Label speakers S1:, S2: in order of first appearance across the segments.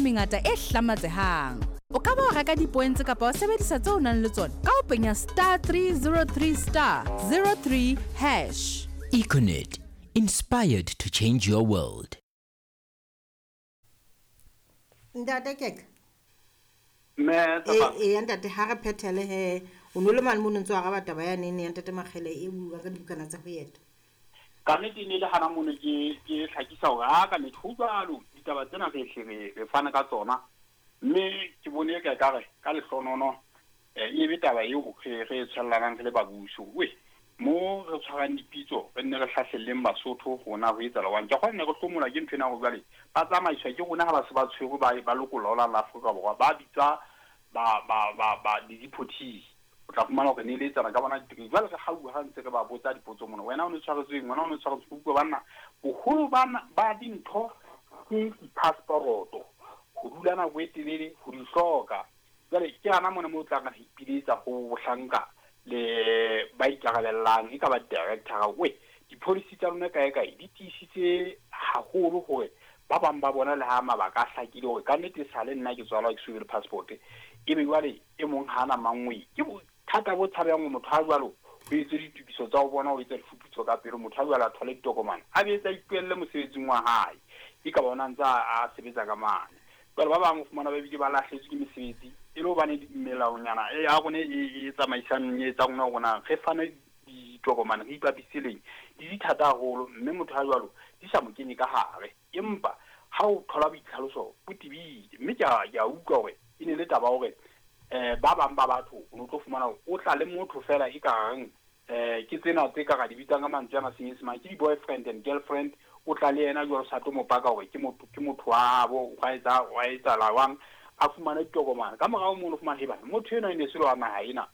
S1: mengata e hlamatsehang. O ka ba wa reka dipoentse kapa wa sebedisa tseo o nang le tsona ka ho penya star 303 star 03 hash.
S2: Econet, inspired to change your world.
S3: Ntate Keka.
S4: Mme Tshepa.
S3: Ee, ntate, ha re phethele he. O no le mane mono ntse o araba taba ya nene ya ntate Makgele e buang ka dibukana tsa ho eta.
S4: Ka nnete e ne le hana mono ke ke hlakisa hore ha ka nnete ho jwalo ditaba tsena re hle re re fana ka tsona. Mme ke bone ka ekare ka lehlonono e be taba eo re re e tshwellanang re le babuso. We mo re tshwarang dipitso re nne re hlahlelleng Basotho rona ho etsahala jwang. Ke kgona ne re hlomola ke ntho ena hore jwale ba tsamaiswa ke rona ha ba se ba tshwerwe ba ba lokollwa ho la la Afrika Borwa ba bitswa ba ba ba ba di-deportees. O tla fumana hore ne eletsana ka bona ditekesi. Jwale re hauwa ha ntse re ba botsa dipotso mona, wena o ne tshwaretsweng, wena o ne tshwaretsweng. Utlwa banna, boholo ba dintho ke di-passport-o, ho dula nako e telele, ho di hloka. Jwale ke hana mona moo o tla re ipiletsa ho bohlanka le ba ikarabellang, e ka ba director. We di-policy tsa lona kae kae di tiisitse haholo hore ba bang ba bona le ha mabaka a hlakile hore ka nnete sale nna ke tswalwa ke so be le passport, ebe jwale e mong ha ana mangwe. Ke bothata bo tshabehang hore motho ha jwalo ho etswe ditokiso tsa ho bona, ho etsa difuputso ka pele, motho ha jwalo a thole ditokomane, a be etsa ipuelle mosebetsing wa hae, e ka bona ntse a sebetsa ka mane. Jwale ba bang o fumana ba bile ba lahletswe ke mesebetsi e le hobane melaonyana e ya rona e tsamaisang e etsang rona rona re fane ditokomane re ipapiseleng di di thata haholo, mme motho ha jwalo di sa mo kenye ka hare. Empa ha o thola boitlhaloso bo tebile, mme ke a utlwa hore e ne le taba hore ba bang ba batho o no tlo fumana hore o tla le motho fela e kareng ke tsena tse ka ra di bitsang ka mantswe ana Senyesemane ke di-boyfriend and girlfriend. O tla le yena jwalo sa tlo mo paka hore ke motho, ke motho wa habo, wa etsa wa etsahala jwang, a fumane ditokomane. Ka morao mono o fumana hee bana motho enwa e ne se le wa naha ena,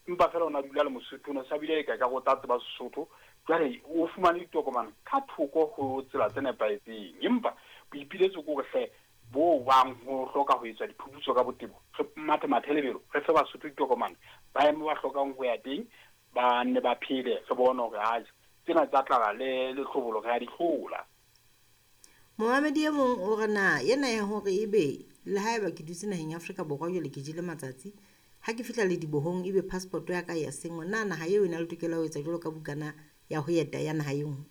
S4: empa fela o na dula le Mosotho, o ne sa bile e ka ekare o tla tseba Sesotho. Jwale o fumane ditokomane ka thoko ho tsela tse nepahetseng. Empa boipiletso ke hore hle bo bang ho hloka ho etswa diphuputso ka botebo, re mathe mathe lebelo, re fe Basotho ditokomane, ba eme ba hlokang ho ya teng, ba nne ba phele, re bone hore atjhe tsena tsa tlala le lehlobolo re a di hlola.
S3: Momamedi e mong o re na ena ya hore ebe le haeba ke dutse naheng ya Afrika Borwa jwale ke jele matsatsi, ha ke fihla ledibohong ebe passport ya ka ya senngwa, na naha eo e na le tokelo ya ho etsa jwalo ka bukana ya ho eta ya naha e nngwe?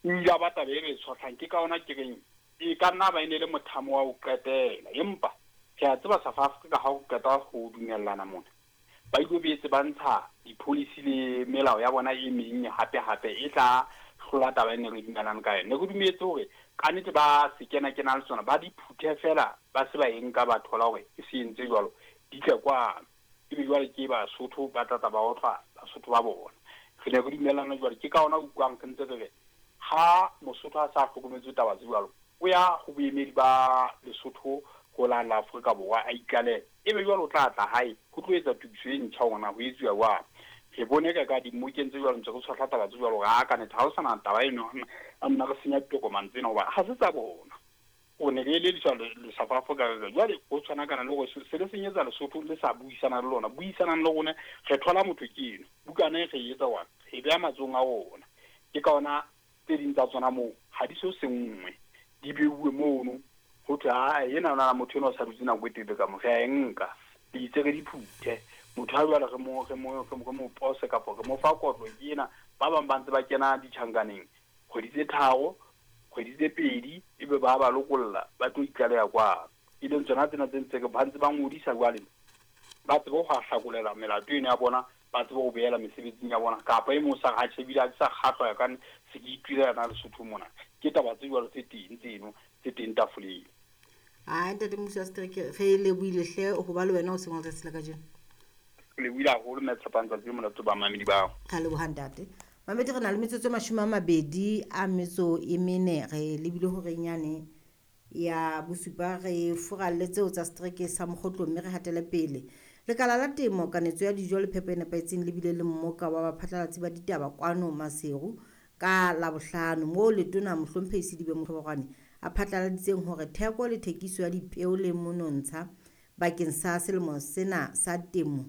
S4: O ile a ba taba e re tshohlang, ke ka ona ke reng e ka nna ba e ne le mothamo wa ho qetela, empa re a tseba South Africa ha o qeta ho dumellana mona ba ilo boetse ba ntsha di-policy le melao ya bona e meng hape hape e tla hlola taba e ne re dumelane ka yona. Ne re dumetse hore ka nnete ba se kena kena le tsona, ba di phuthe fela, ba se ba e nka ba thola hore e se entse jwalo, di tle kwano. Ebe jwale ke Basotho ba tla tla ba otlwa Basotho ba bona. Re ne re dumellana jwalo, ke ka hona utlwang re ntse re re ha Mosotho a sa hlokometse taba tse jwalo, o ya ho boemedi ba Lesotho ho la la Afrika Borwa a itlalehe, ebe jwale o tla tla hae ho tlo etsa tokiso e ntjha hore na ho etsuwa jwang. Re bone ka ka dimmokeng tse jwalo ntse re tshohla taba tse jwalo hore a ka nnete ha ho sana taba eno, a nna re senya ditokomane tsena hoba ha se tsa bona. O ne re elediswa le South Africa re re jwale ho tshwanakana le hore se le senyetsa Lesotho le sa buisana le lona, buisanang le rona, re thola motho ke eno, bukana e re e etsa jwang, re e beha matsohong a rona. Ke ka hona tse ding tsa tsona moo ha di so senngwe, di beuwe mono ho thwe a ena na motho enwa o sa dutse nako e telele ka mo, re a e nka, le itse re di phuthe. Motho ha jwale re mo, re mo, re mo pose kapa re mo fa kotlo ke ena. Ba bang ba ntse ba kena ditjhankaneng kgwedi tse 3, kgwedi tse 2, ebe ba ba lokolla ba tlo itlaleha kwano. E leng tsona tsena tse ntse ba ntse ba ngodisa jwale, ba tsebe ho hlakolela melato eno ya bona, ba tsebe ho boela mesebetsing ya bona. Kapa e mong sa re ha tjhe, ebile ha ke sa kgahlwa ya ka se ke itulela na Lesotho mona. Ke taba tse jwalo tse teng tseno tse teng tafoleng.
S3: Ai, ntate Mmusi wa Setereke, re lebohile hle ho ba le wena o seng wa letsatsi la kajeno.
S4: Re lebohile haholo mme Tshepang, tsatsi le monate ba mamedi bao.
S3: Re leboha ntate. Mamedi, re na le metsotso e 24, re lebile horeng yane ya bosupa, re furalle tseo tsa setereke sa Mokgotlong mme re hatele pele. Lekala la temo, kanetso ya dijo le phepo e nepahetseng le bile le mmoka wa baphatlalatsi ba ditaba kwano Maseru ka Labohlano, moo letona Mohlomphehi Sedibe Motlhobogwane a phatlaladitseng hore theko le thekiso ya dipeo le monontsha bakeng sa selemo sena sa temo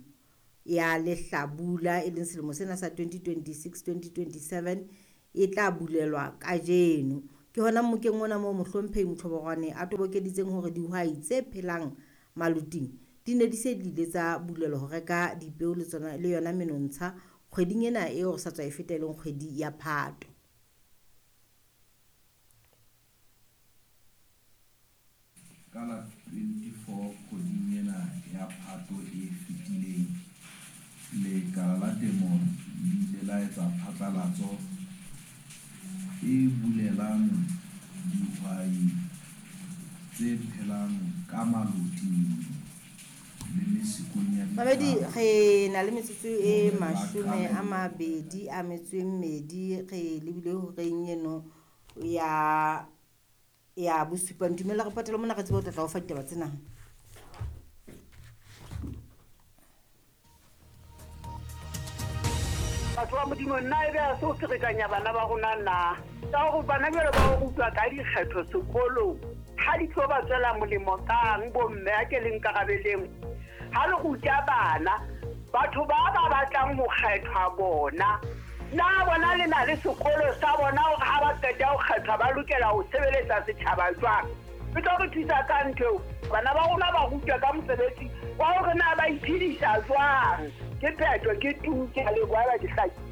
S3: ya lehlabula, e leng selemo sena sa 2026-2027, e tla bulelwa kajeno. Ke hona mmokeng ona moo Mohlomphehi Motlhobogwane a tobokeditseng hore dihwai tse phelang maloting di ne di se di ile tsa bulelwa ho reka dipeo le tsona le yona menontsha kgweding ena eo re sa tswa e feta e leng kgwedi ya Phato.
S5: Ka la 24 kgweding ena ya Phato e fetileng, Lekala la Temo le ile la etsa phatlalatso e bulelang dihwai tse phelang ka maloting le mesikong ya
S3: Mamedi,
S5: dithaba
S3: re na le metsotso e
S5: hore ba
S3: mashome
S5: qale
S3: a mabedi a metso e mmedi re lebile horeng eno ya ya bosupa. Ntumella re patele mona re tsebe ho tla tla o fa ditaba tsena.
S6: Batho ba Modimo, nna ebe ha se ho ferekanya bana ba rona na? Ka hore bana jwale ba o rutwa ka dikgetho sekolong, ha di tlo ba tswela molemo kang bomme a ke le nkarabeleng. Ha le ruta bana, batho ba ba batlang ho kgethwa bona, na bona le na le sekolo sa bona hore ha ba qeta ho kgethwa ba lokela ho sebeletsa setjhaba jwang? E tlo re thusa ka ntho eo. Bana ba rona ba rutwa ka mosebetsi wa hore na ba iphedisa jwang. Ke phetho, ke tu, ke a leboha haeba ke hlakile.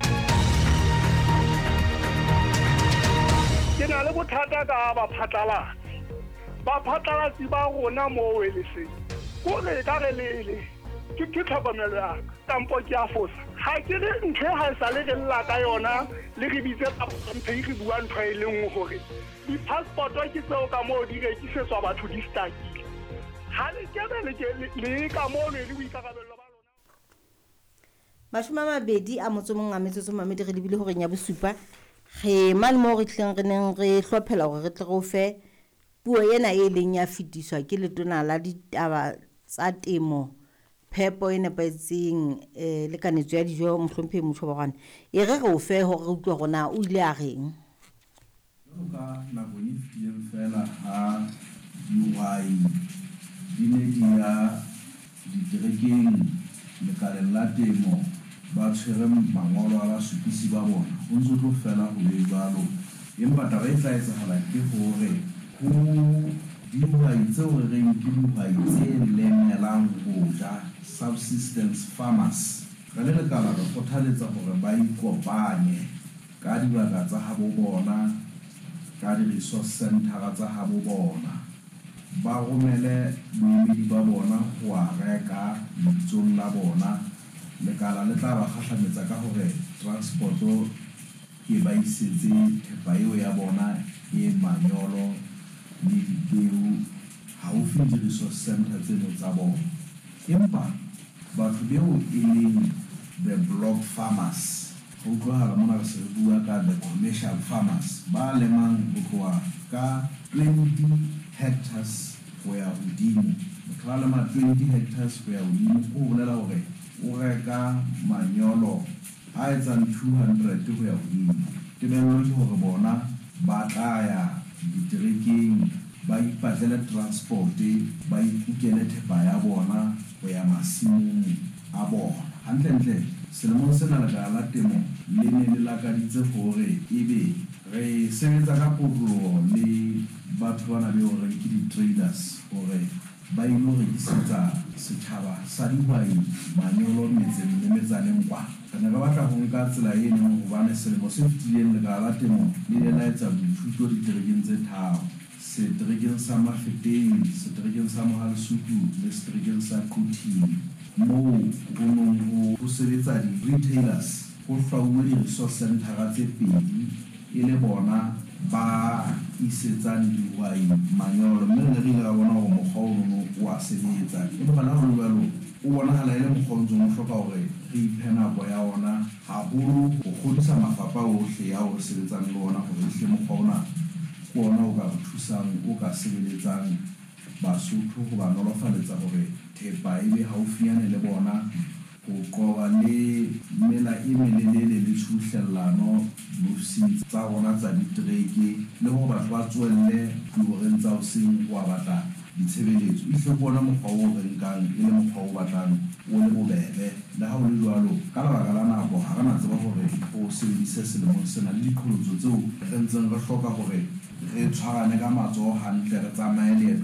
S7: Ke na le bothata ka baphatlalatsi. Baphatlalatsi ba rona moo Weleseng, kore ka re lele, ke tlhokomelo ya ka, kampo ke a fosa. Ha ke re ntho e ha e sale re lla ka yona, le re bitse bahlomphehi re bua ntho e le nngwe hore di-passport-o ke tseo ka moo di rekisetswa batho di stakile. Ha le kebe le ke le ka mono e le boikarabello ba lona.
S3: 21 a metsotso mamedi re lebile horeng ya bosupa. Re mane moo re tlileng re neng re hlophela hore re tle re o fe puo ena e leng ya fetiswa ke letona la ditaba tsa temo, phepo e nepahetseng le kanetso ya dijo Mohlomphehi Motlhobogwane. E re re o fe hore re utlwe hore na o ile a reng.
S5: Jwalo ka nakong e fetileng feela ha dihwai di ne di ya diterekeng lekaleng la temo ba tshwere mangolo a basupisi ba bona, ho ntso tlo fela ho be jwalo. Empa taba e tla etsahala ke hore ho dihwai tseo re reng ke dihwai tse lemelang ho ja, subsistence farmers, re le lekala re kgothaletsa hore ba ikopanye ka dibaka tsa habo bona, ka di-resource centre tsa habo bona, ba romele boemedi ba bona ho a reka lebitsong la bona. Lekala le tla ba kgahlametsa ka hore transport-o e ba isetse thepa eo ya bona e manyolo le dipeo haufi le di-resource centre tseno tsa bona. Empa batho beo e leng the block farmers, ho utlwahala mona re se re bua ka the commercial farmers ba lemang ho tloha ka 20 hectares ho ya hodimo. Motho a lema 20 hectares ho ya hodimo, ke ho bolela hore o reka manyolo a etsang 200 ho ya hodimo. Tebello ke hore bona ba tla ya diterekeng, ba ipatlele transport, ba ikukele thepa ya bona ho ya masimong a bona. Hantlentle selemong sena lekala la temo le ne le lakaditse hore ebe re sebetsa ka kotloloho le batho bana beo re reng ke di-traders hore ba ilo rekisetsa setjhaba sa dihwai manyolo metseng le metsaneng kwa. Re ne re batla ho nka tsela eno hobane selemo se fetileng lekala la temo le ile la etsa boithuto diterekeng tse tharo, seterekeng sa Mafeteng, seterekeng sa Mohalesuku le seterekeng sa Quthing, moo ho nong ho sebetsa di-retailers. Ho hlwauwe di-resource centre tse pedi e le bona ba isetsang dihwai manyolo, mme re ne re ile ra bona hore mokgwa ono o a sebetsa. Empa le ha ho le jwalo, o bonahala e le mokgwa o ntseng o hloka hore re iphe nako ya ona haholo ho kgodisa mafapha ohle ao re sebetsang le ona hore ehlile mokgwa ona ke ona o ka re thusang, o ka sebeletsang Basotho ho ba nolofaletsa hore thepa e be haufinyane le bona, ho qoba le mela e melelele le tshubuhlellano diofising tsa rona tsa ditereke, le hore batho ba tsoelle dihoreng tsa hoseng ho a batla ditshebeletso. Ehlile ke ona mokgwa oo re nkang e le mokgwa o batlang o le bobebe. Le ha ho le jwalo, ka lebaka la nako ha re na tseba hore re o sebedise selemong sena le diqholotso tseo re ntseng re hloka hore re tshwarane ka matsoho hantle, re tsamaye leeto.